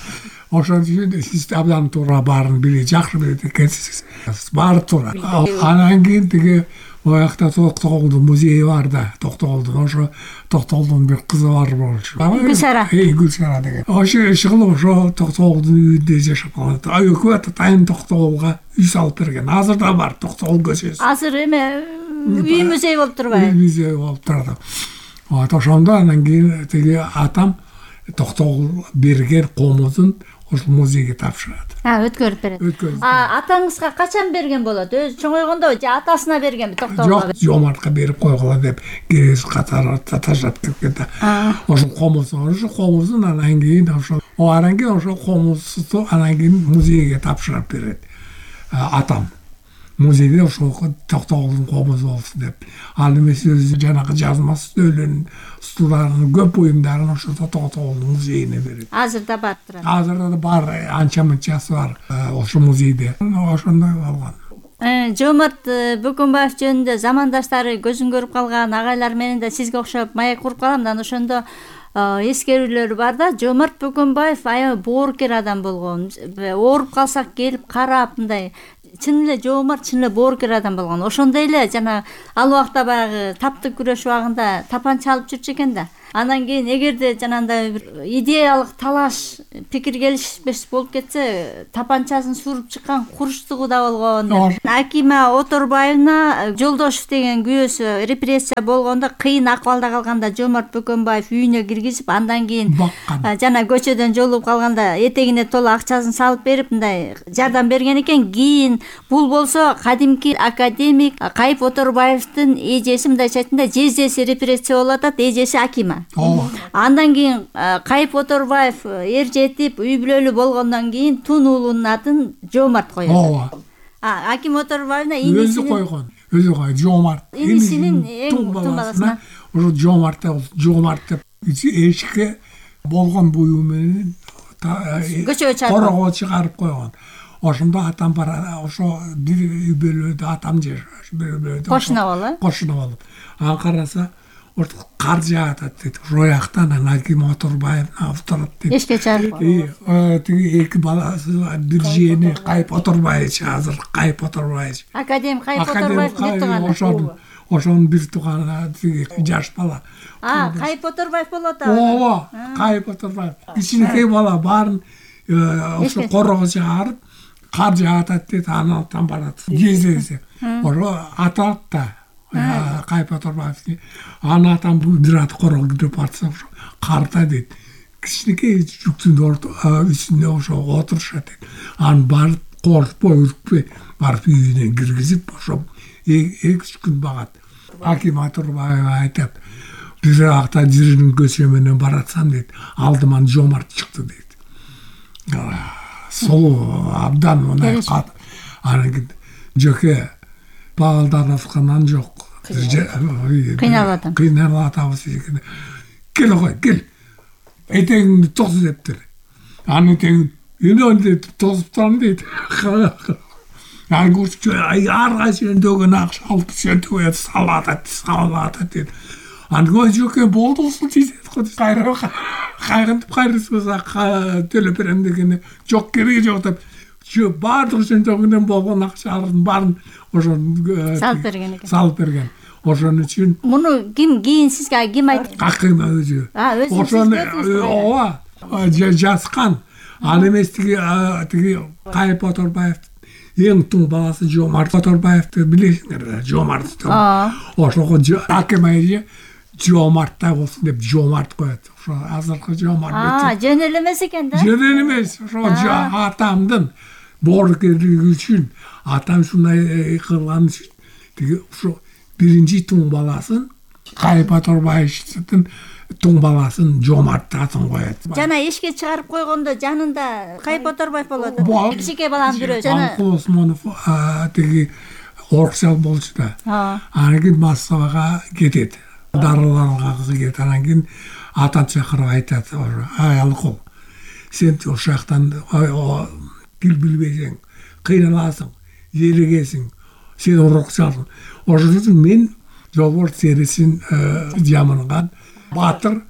Ошон үчүн сиз абдан туура баарын билип жакшы билет экенсиз. Баары туура. Анан кийин тиги оякта Токтогулдун музейи бар да, Токтогулдун ошо Токтогулдун бир кызы бар болчу. Гүлсара. Эй, Гүлсара деген. Ошо ишкылып ошо Токтогулдун үйүндө жашап калат. Өкмөт ата Тайын Токтогулга үй салып берген. Азыр да бар Токтогул көчөсү. Азыр эме үй музей болуп турбайбы? Үй музей болуп турат. Вот ошондо анан кийин тиги атам Токтогул берген комузун ошол музейге тапшырат. А, өткөрүп берет. А, атаңызга качан берген болот? Өзү чоңойгондо же атасына бергенби Токтогулга? Жок, Жоомартка берип койгула деп кирез катары таштап кеткен. Ошол комузун, ошол комузун анан кийин ошол анан кийин ошол комузду анан кийин музейге тапшырып берет. Атам музейде ошол Токтогулдун комузу болсун деп. Ал эмес өзү жанагы жазма стөлүн, стулдарын, көп буюмдарын ошол Токтогулдун музейине берет. Азыр да бар турат. Азыр да бар, анча мынчасы бар ошол музейде. Ошондой болгон. Жоомарт Бөкөнбаев жөнүндө замандаштары көзүн көрүп калган агайлар менен да сизге окшоп маек куруп калам да, ошондо эскерүүлөр бар да. Жоомарт Бөкөнбаев аябай боорукер адам болгон. Ооруп калсак келип карап мындай чын эле Жоомарт чын эле боорукер адам болгон. Ошондой эле жана ал убакта баягы таптык күрөш убагында тапанча алып жүрчү экен да. Анан кийин эгерде жанагындай бир идеялык талаш, пикир келишпеш болуп кетсе, тапанчасын суруп чыккан курчтугу да болгон. Акима Оторбаевна Жолдошев деген күйөөсү репрессия болгондо кыйын акыбалда калганда Жоомарт Бөкөнбаев үйүнө киргизип, андан кийин жана көчөдөн жолугуп калганда этегине толо акчасын салып берип мындай жардам берген экен. Кийин бул болсо кадимки академик Кайып Оторбаевдин эжеси, мындайча айтканда жездеси репрессия болуп атат, эжеси Акима. Андан кийин Кайып Оторбаев эр жетип үй бүлөлүү болгондон кийин Тун уулунун атын Жоомарт коет. Ооба. А, Аким Оторбаевна инисинин өзү койгон. Өзү кой Жоомарт. Инисинин эң тун баласына ошо Жоомарт Жоомарт деп эшикке болгон буюу менен көчөгө чыгарып корого чыгарып койгон. Ошондо атам бар, ошо бир үй бүлөдө атам жашаш, бир бүлөдө кошуна болуп. Кошуна болуп. Анан караса орто кар жаатат дейт. Рояктан Аким Оторбаев авторат дейт. Эшке чыгарып. Тиги эки баласы бир жээни Кайып Оторбаевич, азыр Кайып Оторбаевич. Академик Кайып Оторбаев бир тууганы. Ошонун ошонун бир тууганы тиги жаш бала. А, Кайып Оторбаев болот атабы. Ооба, Кайып Оторбаев. Кичинекей бала баарын ошо корого чыгарып, кар жаатат дейт, анан барат. Кездесе. Ошо атат да. Кайып Оторбаев. Анан атам бир ат корого кирип барса ошо карда дейт. Кичинекей жүктүн үстүнө ошо отурушат дейт. Анан барып коркпой, үркпөй барып үйүнө киргизип ошо эки үч күн багат. Аким Оторбаев айтат, бир акта жиринин көчө менен баратсам дейт, алдыман Жоомарт чыкты дейт. Солу абдан мындай кат. Анан жөкө балдар аткандан жок. Кыйналып атам. Кыйналып атабыз экен. Кел ой, кел. Этегиңди тос дептир. Анын этегин эмне тосуп турам дейт. Анан көчө ар кайсынан дөгөн акча алып сөтүп салат, салат дейт. Анан көчө болдусу дейт. Кайра кайрынтып кайрысыза төлөп берем дегене жок, кереги жок деп. Жо баардык жөндөмүнөн болгон акчалардын баарын ошо салып берген экен. Салып берген. Ошон үчүн муну ким кийин сизге ким айтты? Аким өзү. А, өзү. Ошону ооба жазган. Ал эмес тиги тиги Кайып Оторбаев эң тун баласы Жомарт Оторбаевди билесиңер да, Жомарт. Ошого акем айы Жомарттай болсун деп Жомарт коет. Ошо азыркы Жомарт. А, жөн эле эмес экен да. Жөн эле эмес. Ошо атамдын боорукерлиги үчүн, атам ушундай кылган үчүн тиги ошо биринчи тун баласын Кайып Оторбаевдин тун баласын Жомарт атын коет. Жана эшикке чыгарып койгондо жанында Кайып Оторбаев болот. Кичике баланын бирөө жана Алкул Осмонов тиги оркчал болчу да. Анан кийин Москвага кетет. Дарыланга кетет. Анан кийин атан чакырып айтат: "Ай Алкул, сен ошол жактан тил билбейсиң, кыйналасың, жеригесиң, сен оркчалсың. Ошон үчүн мен жолборс терисин жамынган батыр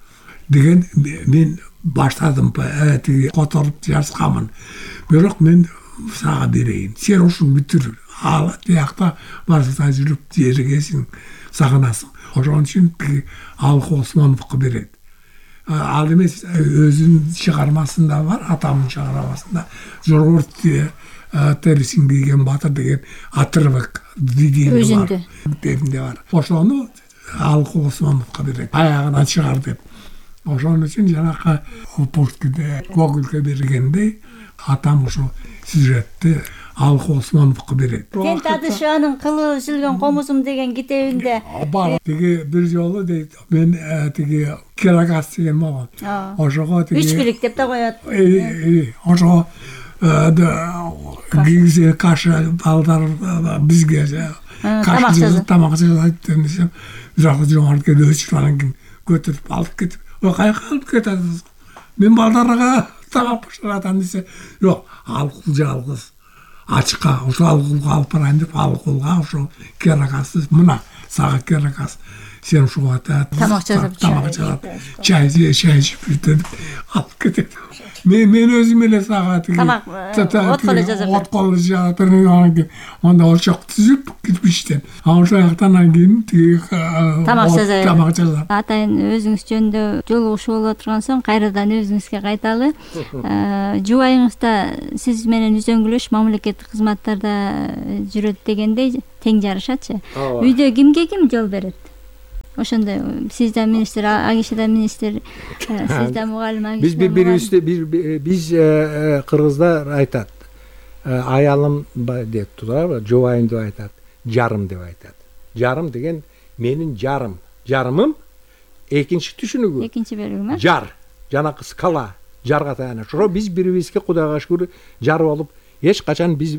деген мен баштадым, тиги которуп жазгамын. Бирок мен сага берейин. Сен ушуну бүтүр. Ал тиякта барса жүрүп жеригесиң, сагынасың." Ошон үчүн тиги Алкул Осмоновго берет. Ал эмес өзүнүн чыгармасында бар, атамдын чыгармасында жолборс терисин кийген батыр деген отрывок видео бар. Өзүндө бар. Ошону Алкул Осмоновго берет. Аягынан чыгар деп. Ошон үчүн жанакы Пушкинде Гогольге бергендей атам ошо сюжетти Алкул Осмоновго берет. Кен Тадышеванын Кылы үзүлгөн комузум деген китебинде бар. Тиги бир жолу дейт, мен тиги Керагас деген болгон. Ошого тиги үч билик деп да коет. Ошого кийзе каша балдар бизге каша тамак жасайт десем, жакы Жомарт келип өчүп анан кийин көтөрүп алып кетип, "Ой, каяка алып кетесиз? Мен балдарга тамак башыратам" десе, "Жок, Алкул жалгыз ачка, ошо Алкулга алып барайын" деп Алкулга ошо Керагасты, "Мына сага Керагас, сен ушуга тамак жасап, тамак жасап, чай чай ичип бүтүп алып кетет. Мен мен өзүм эле сага тиги тамак отколу жасап, отколу жасап, анан кийин анда очок түзүп кирпичтен. Анан ошол жактан анан кийин тиги тамак жасап. Тамак жасап. Атайын өзүңүз жөнүндө жолугушуу боло турган соң кайрадан өзүңүзгө кайталы. Жубайыңызда сиз менен үзөңгүлөш мамлекеттик кызматтарда жүрөт дегендей тең жарышачы. Үйдө кимге ким жол берет? Ошондой сиз да министр, Агиша да министр, сиз да мугалим. Биз бири-бирибизди биз кыргыздар айтат. Аялым деп турат, жубайым деп айтат, жарым деп айтат. Жарым деген менин жарым. Жарымым экинчи түшүнүгү. Экинчи бөлүгү. Жар, жанакы скала, жарга таяна. Ошо биз бири-бирибизге Кудайга шүгүр жар болуп, эч качан биз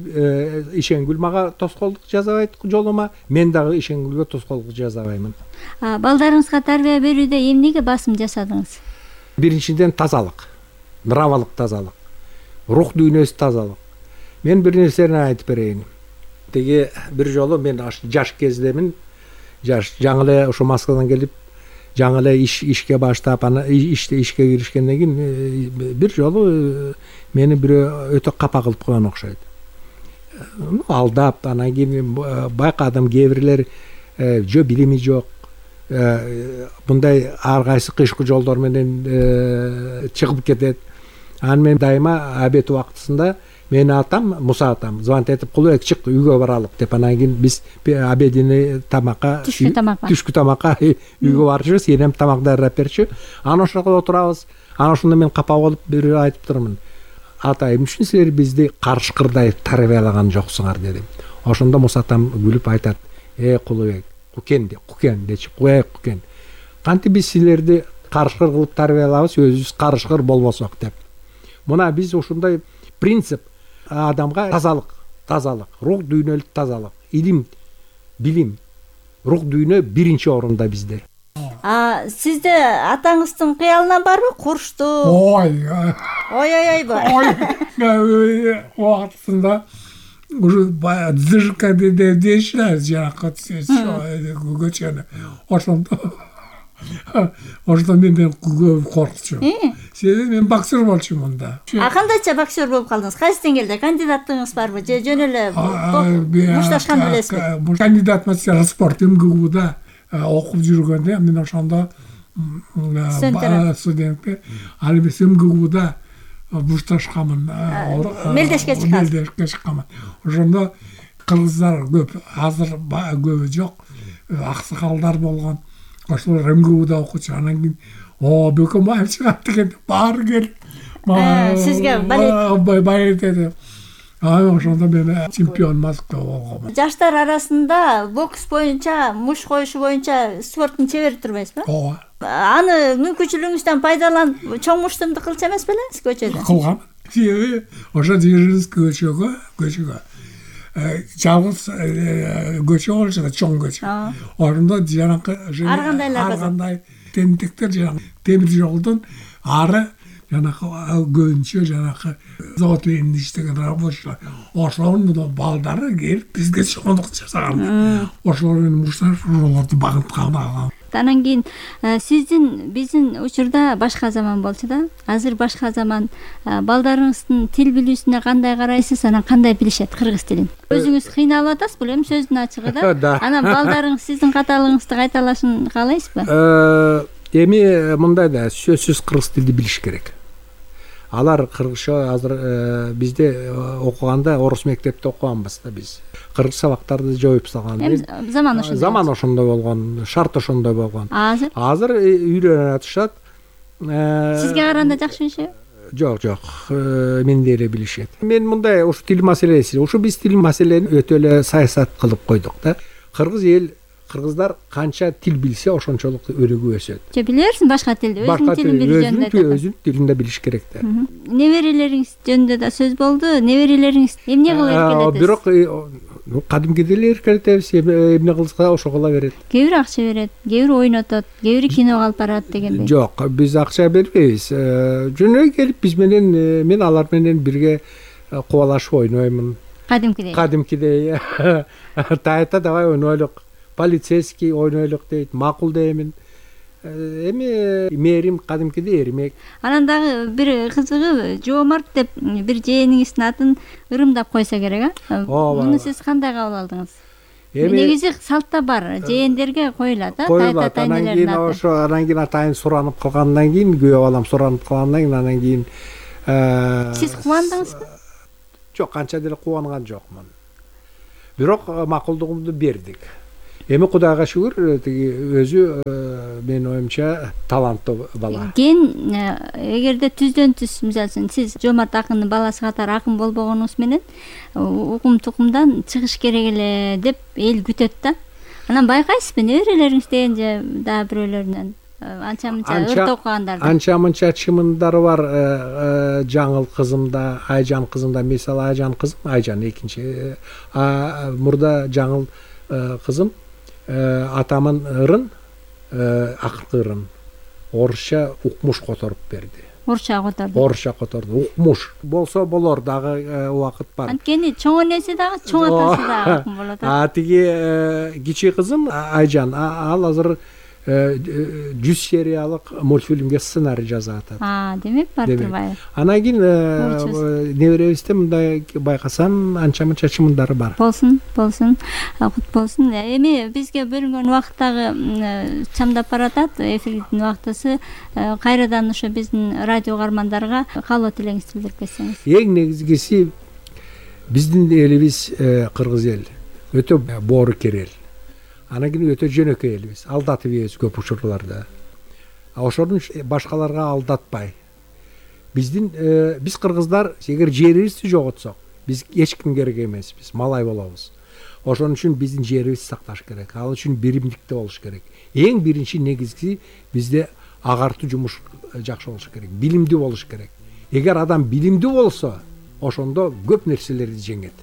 Ишенгүл мага тоскоолдук жасабайт жолума, мен дагы Ишенгүлгө тоскоолдук жасабаймын. Балдарыңызга тарбия берүүдө эмнеге басым жасадыңыз? Биринчиден тазалык, нравалык тазалык, рух дүйнөсү тазалык. Мен бир нерсени айтып берейин. Теги бир жолу мен жаш кездемин, жаш жаңы эле ошо Москвадан келип, жаңы эле иш ишке баштап, аны иште ишке киришкенден кийин бир жолу мени бирөө өтө капа кылып койгон окшойт. Алдап, анан кийин байкадым кээ бирлер жөө билими жок. Мындай ар кайсы кышкы жолдор менен чыгып кетет. Анан мен дайыма обед убактысында менин атам, Муса атам звонить этип, "Кулбек чык, үйгө баралык" деп. Анан кийин биз обединий тамакка, түшкү тамакка, түшкү тамакка үйгө барчыбыз, энем тамак даярдап берчү. Анан ошол отурабыз. Анан ошондо мен капа болуп бир айтып турмун. "Атай, эмне үчүн силер бизди карышкырдай тарбиялаган жоксуңар" дедим. Ошондо Муса атам күлүп айтат: "Э, Кулбек, Кукен де, Кукен дечи, куяк Кукен. Кантип биз силерди карышкыр кылып тарбиялабыз, өзүбүз карышкыр болбосок" деп. Мына биз ушундай принцип адамга тазалык, тазалык, рух дүйнөлүк тазалык, илим, билим, рух дүйнө биринчи орунда бизде. А сизде атаңыздын кыялынан барбы куршту? Ой. Ой ой ой бар. Ой, убактысында ушу дзыжка дейшилер, жанакы көчөнү. Ошондо ошондо мен коркчумун. Себеби мен боксер болчумун да. А кандайча боксер болуп калдыңыз? Кайсы деңгээлде? Кандидаттыгыңыз барбы? Же жөн эле мушташкан белесизби? Кандидат мастер спорт МГУда окуп жүргөндө мен ошондо студентке ал эмес МГУда бушташканмын, мелдешке чыккан. мелдешке чыкканмын. Ошондо кыргыздар көп, азыр көбү жок, аксакалдар болгон. Ошолор эм гэ у'да окучу. Анан кийин о Бөкөнбаев чыгат деген баары келип сизге балет балет этип. А ошондо мен чемпион Москва болгонмун. Жаштар арасында бокс боюнча, муш коюшу боюнча спорттун чебери турбайсызбы? Ооба. Аны мүмкүнчүлүгүңүздөн пайдаланып, чоң муштумду кылчу эмес белеңиз көчөдө? Кылгам. Себеби ошо Дзержинский көчөгө, көчөгө жалгыз көчө болчу да, чоң көчө. Ошондо жанакы ар кандайлар ар кандай тентектер жанакы темир жолдун ары жанакы көбүнчө жанакы завод менен иштеген рабочийлар. Ошонун балдары келип бизге чоңдук жасаган. Ошолор менен мушташ ошолорду багынткан. Анан кийин сиздин биздин учурда башка заман болчу да. Азыр башка заман. Балдарыңыздын тил билүүсүнө кандай карайсыз? Анан кандай билишет кыргыз тилин? Өзүңүз кыйналып атасызбы эле сөздүн ачыгы да? Анан балдарыңыз сиздин каталыгыңызды кайталашын каалайсызбы? Эми мындай да, сөзсүз кыргыз тилди билиш керек. Алар кыргызча азыр бизде окуганда орус мектепте окуганбыз да биз. Кыргыз сабактарды жоюп салган. Заман ошондой. Заман ошондой болгон, шарт ошондой болгон. Азыр? Азыр үйрөнүп атышат. Сизге караганда жакшы билишеби? Жок, жок. Мендей эле билишет. Мен мындай ушу тил маселеси, ушу биз тил маселени өтө эле саясат кылып койдук да. Кыргыз эл, кыргыздар канча тил билсе, ошончолук өнүгүп өсөт. Же билерсиң башка тилди, өзүнүн тилин билүү жөнүндө? Өзүнүн тилинде билиш керек да. Неберелериңиз жөнүндө да сөз болду. Неберелериңиз эмне кылып эркелетет? Бирок кадимкидей эле эркелетебиз, эмне кылса ошо кыла берет. Кээ бири акча берет, кээ бири ойнотот, кээ бири киного алып барат дегендей. Жок, биз акча бербейбиз. Жөнөй келип биз менен, мен алар менен бирге кубалашып ойноймун. Кадимкидей. Кадимкидей. Тайта давай ойнойлук. Полицейский ойнойлук дейт, макул деймин. Эми мээрим кадимкидей эрмек. Анан дагы бир кызыгы Жоомарт деп бир жээниңиздин атын ырымдап койсо керек, а? Муну сиз кандай кабыл алдыңыз? Негизи салтта бар, жээндерге коюлат, а? Тайта атайнелердин аты. Ошо анан кийин атайын суранып калгандан кийин, күйөө балам суранып калгандан кийин анан кийин сиз кубандыңызбы? Жок, канча деле кубанган жокмун. Бирок макулдугумду бердик. Эми Кудайга шүгүр, тиги өзү менин оюмча таланттуу бала. Ген эгерде түздөн түз мисалы үчүн сиз Жоомарт акындын баласы катары акын болбогонуңуз менен укум тукумдан чыгыш керек эле деп эл күтөт да. Анан байкайсызбы неберелериңиз деген же дагы бирөөлөрүнөн анча мынча ырт окугандарды? Анча мынча чымындары бар. Жаңыл кызымда, Айжан кызымда, мисалы Айжан кызым, Айжан экинчи, мурда Жаңыл кызым атамын ырын, акыркы ырын орусча укмуш которуп берди. Орусча которду. Орусча которду. Укмуш болсо болор, дагы убакыт бар. Анткени чоң энеси дагы, чоң атасы дагы акын болот. А тиги кичи кызым Айжан, ал азыр жүз сериялык мультфильмге сценарий жазып атат. А, демек бар турбайбы? Анан кийин неберебизде мындай байкасам анча мынча чымындары бар. Болсун, болсун. Кут болсун. Эми бизге бөлүнгөн убакыт дагы чамдап баратат. Эфирдин убактысы. Кайрадан ошо биздин радио угармандарга каалоо тилеңизди билдирип кетсеңиз. Эң негизгиси биздин элибиз кыргыз эл өтө боорукер эл. Анан кийин өтө жөнөкөй элбиз, алдатып ийбиз көп учурларда. Ошонун башкаларга алдатпай. Биздин биз кыргыздар эгер жерибизди жоготсок, биз эч ким керек эмеспиз, малай болобуз. Ошон үчүн биздин жерибизди сакташ керек. Ал үчүн биримдикте болуш керек. Эң биринчи негизги бизде агартуу жумуш жакшы болуш керек, билимдүү болуш керек. Эгер адам билимдүү болсо, ошондо көп нерселерди жеңет.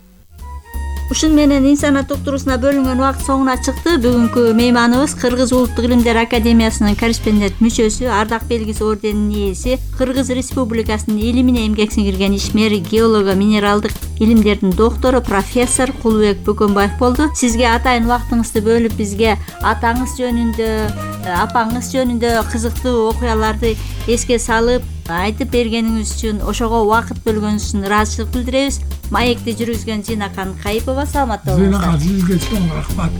Ушун менен инсанат уктуруусуна бөлүнгөн убакыт соңуна чыкты. Бүгүнкү мейманыбыз Кыргыз Улуттук Илимдер Академиясынын корреспондент мүчөсү, ардак белгиси орденинин ээси, Кыргыз Республикасынын илимине эмгек сиңирген ишмер, геологу, минералдык илимдердин доктору, профессор Кулубек Бөкөнбаев болду. Сизге атайын убактыңызды бөлүп, бизге атаңыз жөнүндө, апаңыз жөнүндө кызыктуу окуяларды эске салып айтып бергениңиз үчүн, ошого убакыт бөлгөнүңүз үчүн ыраазычылык билдиребиз. Маекти жүргүзгөн Зинакан Кайыпова саламатта болуңуздар. Зинакан, сизге чоң рахмат.